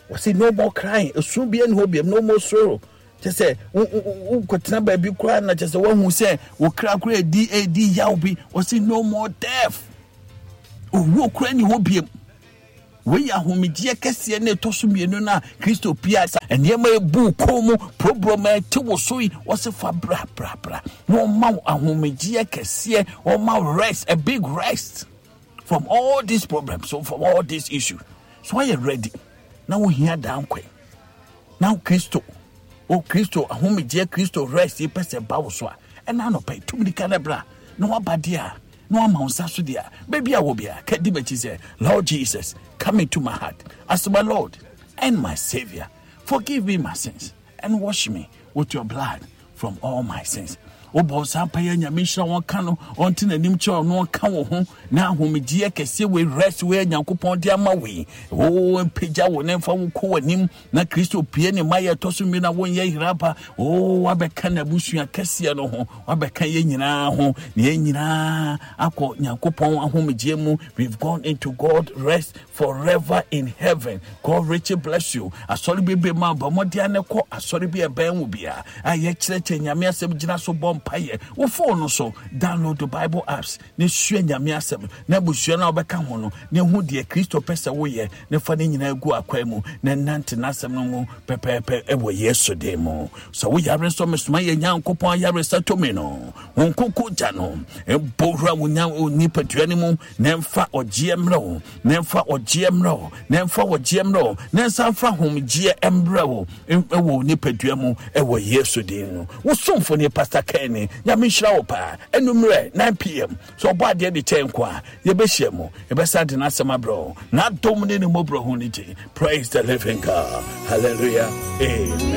Wɔsi no more crying, esu bi ɛni hɔ biom, no more sorrow. Kyɛ sɛ wokɔtena baabi koraa na kyɛ sɛ woahu sɛ wo kra koraa ɛdi ɛdi yaw bi. Wɔsi no more death. Owuo koraa ni hɔ biom. Wei yɛ ahomegyeɛ kɛseɛ na ɛtɔ so mmienu no a Kristo pia sa nneɛma ebu kɔn mu problem a ɛte wo so yi wɔsi fa bra bra bra na ɔma wo ahomegyeɛ kɛseɛ ɔma wo rest a big rest from all these problems so from all these issues so ayɛ ready na wohia daa nkwa na Kristo o Kristo ahomegyeɛ Kristo rest yi pɛ sɛ ba wo so a ɛna anɔpa yi tumi ka no bra na waba deɛ a na wama wo nsa so deɛ a baabi a wɔ biara ka di m'akyi sɛ Lord Jesus come into my heart as my Lord and my Savior forgive me my sins and wash me with your blood from all my sins wobɔ saa mpa yɛ nyame nhyira wɔn ka no ɔnte n'anim kyerɛ ɔno ɔka wo ho na ahomegyeɛ kɛseɛ wei rest wei nyankopɔn de ama wei o mpagya wo ne mfa wo kɔ w'anim na kristo pie ne ma yɛ ɛtɔ so mmienu a wonyɛ yeraba o wabɛka n'abusua kɛseɛ no ho wabɛka yɛn nyinaa ho na yɛn nyinaa akɔ nyankopɔn ahomegyeɛ mu. We've gone into God rest forever in heaven. God richly bless you. Asɔre bi bɛ ma bɔ mmɔden ne kɔ asɔre bi ɛbɛn wo bia a yɛkyerɛkyerɛ nyame asɛm gyina so bɔ mpaeɛ. Wo phone no so download the Bible apps ne sua nyame asɛm na abusua no a wobɛka ho no ne ho deɛ Kristo pɛ sɛ woyɛ ne fa ne nyinaa gu akwan mu na nante n'asɛm no mu pɛpɛɛpɛ ɛwɔ Yesu din mu. Sɛ woyare nso mesoma yɛ Nyankopɔn ayaresa tumi no. Wo nkoko gya no bɔ wura wo nya nipadua no mu na ɛmfa ɔgyeɛ mmerɛ wo na ɛmfa ɔgyeɛ mmerɛ wo na ɛmfa ɔgyeɛ mmerɛ wo na ɛnsa mfa homgyeɛ mmerɛ wo ɛwɔ nipadua mu ɛwɔ Yesu din mu. Wo somfo ne Pastor Kenny. Nyame nhyira wo paa. Anummerɛ 9 p.m. sɛ ɔbɔ adeɛ de kyɛn nko a yɛbɛhyia mu yɛbɛsa de n'asɛm abrɛ wo. N'adom ne ne mmɔborɔhu no gye. Praise the living God. Hallelujah. Amen.